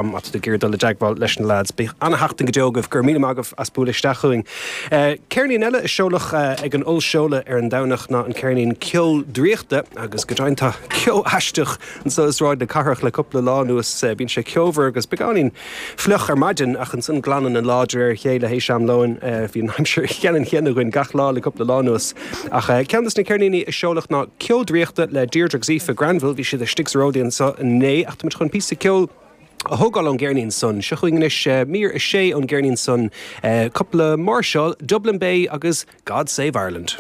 Má tá tú ag iarraidh dul i dteagmháil leis na leaids, bíodh ana-sheachtain go deo agaibh. Go raibh míle maith agaibh as bualadh isteach chugainn. Ceirnín eile a seoladh ag an ollseoladh ar an Domhnach ná an ceirnín Ceo Draíochta agus go deimhin tá ceo aisteach anso i Sráid na Cathrach le cúpla lá anuas. Bíonn sé ceomhar agus beagáinín fliuch ar maidin ach ansan glanann an lá de réir a chéile théis am lóin. Bhí an aimsir cheannann chéanna againn gach lá le cúpla lá anuas. Ach ceann de na ceirníní a seoladh ná Ceo Draíochta le Deirdre agus Aoife Granville. Bhí siad istigh sa Ródaí anso inné ach tá muid chun píosa ceoil a thógáil ón gceirnín san. Seo chugainn anois mír a sé ón gceirnín san, cúpla máirseáil, Dublin Bay agus God Save Ireland.